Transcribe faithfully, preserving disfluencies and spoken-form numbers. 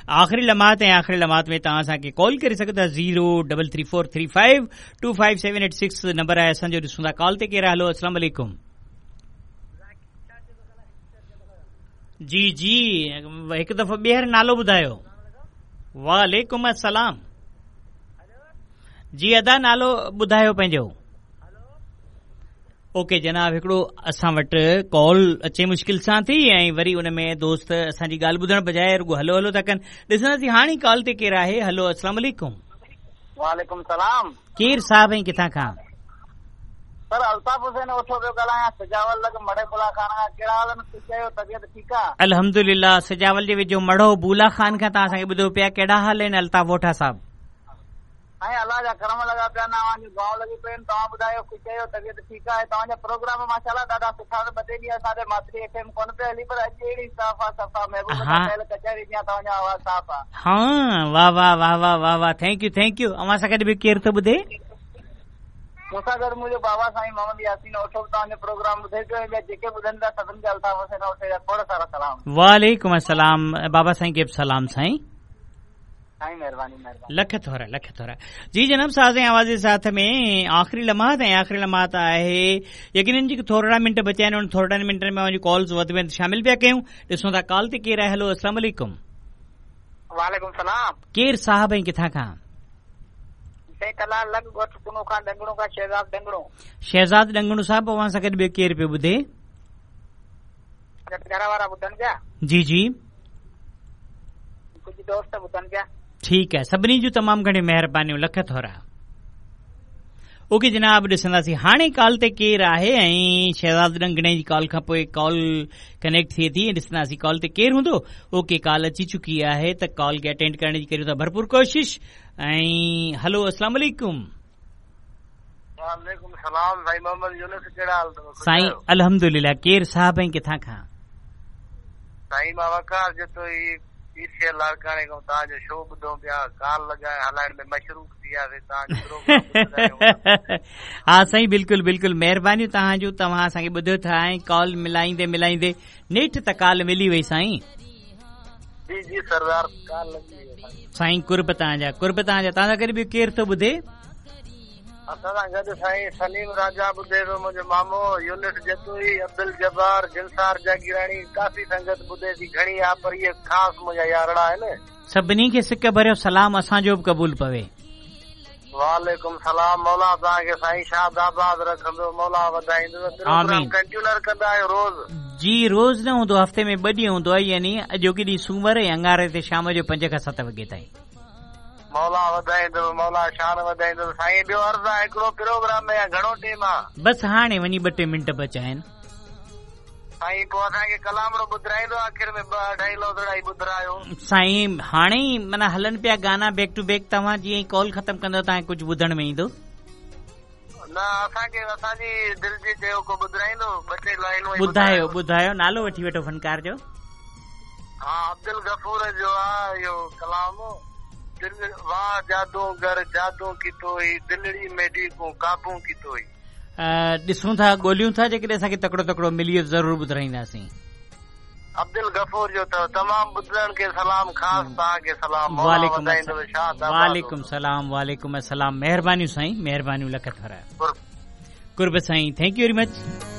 आख़िरी लम्हात ऐं आख़िरी लम्हात में तव्हां असांखे कॉल करे सघो था। Zero double three four three five two five seven eight six number आहे असांजो। ॾिसूं था कॉल ते केरु आहे। हलो, अस्सलाम वालेकुम। जी जी, हिकु दफ़ो ॿीहर नालो ॿुधायो। वालेकुम अस्सलाम। जी अदा, नालो ॿुधायो पंहिंजो। ओके जनाब, हिकिड़ो असां वटि कॉल अचे मुश्किल सां थी ऐं वरी उन में दोस्त असांजी ॻाल्हि ॿुधण बजाए रुगो हलो हलो था कनि। ॾिसंदासीं हाणे कॉल ते केरु आहे। हलो, अस्सलाम वालेकुम। वालेकुम सलाम। केरु साहिब ऐं किथां खां? सर अल्ताफ़ हुसैन ओठो पियो ॻाल्हायां, सजावल लॻ मड़े बुला खान खां। कहिड़ा हाल आहिनि? ख़ुशि आहियो? तबियत ठीकु आहे? अल्हम्दुलिल्लाह। सजावल जे वेझो मड़ो बूला खान खां तव्हां असांखे ॿुधो पिया। कहिड़ा हाल आहिनि अल्ताफ़ ओठा साहिब? ऐं अलाह जा करम लॻा पिया आहिनि, अव्हांजूं दुआऊं लॻी पियूं आहिनि। तव्हां ॿुधायो, ख़ुशि आहियो? तबियत ठीकु आहे? तव्हांजा प्रोग्राम माशाल्लाह ॾाढा सुठा आहिनि। ॿ टे ॾींहं असांजे माथरी एफ एम कोन पियो हली, पर अॼु अहिड़ी साफ़ आहे, सफ़ा महबूब सां कयल कचहरी जीअं तव्हांजो आवाज़ साफ़ आहे। हा, वाह वाह वाह वाह वाह वाह, thank you thank you. अव्हां सां गॾु बि केरु थो ॿुधे? मूंसां गॾु मुंहिंजो बाबा साईं मोहम्मद यासीन ओठो बि तव्हांजो प्रोग्राम ॿुधे पियो ऐं ॿिया जेके ॿुधनि था सभिनी खे अल्ताफ़ हुसैन ओठे जा खोड़ सारा सलाम। वालेकुम अस्सलाम। बाबा साईं खे बि सलाम साईं। साईं महिरबानी महिरबानी, लख थोरा लख थोरा। जी जनाब, साज़ ऐं आवाज़ जे साथ में आख़िरी लम्हात ऐं आख़िरी लम्हात आहे। यकीनन जेके थोरा मिंट बचिया आहिनि, उन थोरनि मिंटनि में अव्हांजूं कॉल्स वधि में शामिल पिया कयूं। ॾिसूं था कॉल ते केरु आहे। हलो, अस्सलाम वालेकुम। वालेकुम सलाम। केरु साहिब ऐं किथां खां? साईं तलाल लॻ ॻोठ कुनो खां डंगणो खां शहज़ाद डंगणो। शहज़ाद डंगणो साहिब, अव्हां सां गॾु ॿियो केरु पियो ॿुधे? घर वारा ॿुधनि पिया। जी जी, कुझु दोस्त ॿुधनि पिया। ठीकु आहे, सभिनी जूं तमामु घणियूं महिरबानियूं, लख थोरा। ओके जनाब, ॾिसंदासीं हाणे कॉल ते केरु आहे ऐं शहज़ाद डंगणे जी कॉल खां पोइ कॉल कनेक्ट थिए थी। ॾिसंदासीं कॉल ते केरु हूंदो। ओके, कॉल अची चुकी आहे त कॉल खे अटेंड करण जी करियूं था भरपूर कोशिश। ऐं हलो, अस्सलाम वालेकुम। वालेकुम सलाम। साईं मोहम्मद यूनुस, कहिड़ा हाल अथव? साईं अल्हम्दुलिल्लाह। केरु साहिब ऐं किथां खां? साईं मां वकार जतोई पीसीएल लाड़काणे खां तव्हांजो शो ॿुधूं पिया, कॉल लॻाए हलाइण में मशरूफ़ थी वियासीं, तव्हांजो प्रोग्राम। हा साईं, बिल्कुलु बिल्कुलु, महिरबानियूं तव्हांजूं, तव्हां असांखे ॿुधो था ऐं कॉल मिलाईंदे मिलाईंदे नेठि त कॉल मिली वई साईं। जी जी सरदार, कॉल लॻी वई साईं। कुर्ब तव्हांजा, कुर्ब तव्हांजा। तव्हां सां गॾु ॿियो केरु थो ॿुधे? असां सां गॾु साईं सलीम राजा ॿुधे थो, मुंहिंजो मामो यूनुस जतोई, अब्दुल जब्बार, जिनसार जागीराणी, काफ़ी संगत ॿुधे थी, घणी आहे, पर इहे ख़ासि मुंहिंजा यारड़ा आहिनि। सभिनी खे सिक भरियो सलाम असांजो बि क़बूल पवे। वालेकुम सलाम। मौला तव्हांखे साईं शाद आबाद रखंदो, मौला वधाईंदो। आमीन। कंटिन्यूअर कंदा आहियो रोज़? जी रोज़ न हूंदो, हफ़्ते में ॿ ॾींहं हूंदो आहे, यानी अॼोके ॾींहुं सूमर ऐं अंगारे ते शाम जो पंज खां सत वॻे ताईं। मौला वधाईंदो, मौला शान वधाईंदो। साईं ॿियो अर्ज़ आहे, हिकिड़ो प्रोग्राम में घणो टाइम आहे? बसि हाणे वञी ॿ टे मिंट बचा आहिनि साईं। पोइ असांखे कलामड़ो ॿुधाईंदो आख़िर में, ॿ अढाई लफ़्ज़ ॿुधायो साईं। हाणे ई माना हलनि पिया गाना बैक टू बैक, तव्हां जीअं ई कॉल ख़तमु कंदव तव्हांखे कुझु ॿुधण में ईंदो? न, असांखे असांजी दिलि जी चयो को ॿुधाईंदो, ॿ टे लाइनूं ॿुधायो ॿुधायो। नालो वठी वठो फनकार जो। हा, अब्दुल गफ़ूर जो आहे इहो कलाम। दिल वाह जादूगर जादू कीतो ई, दिलड़ी मेॾी को काबू कीतो ई। ॾिसूं था, ॻोल्हियूं था, जेकॾहिं असांखे तकिड़ो तकिड़ो मिली वियो ज़रूरु ॿुधाईंदासीं। अब्दुल गफ़ूर जो अथव। तमामु ॿुधण खे सलाम, ख़ासि तव्हांखे सलाम। वालेकुम वालेकुम सलाम, वालेकुम अस्सलाम। महिरबानियूं साईं, महिरबानियूं, लख थोरा। कुर्ब साईं, thank you very much.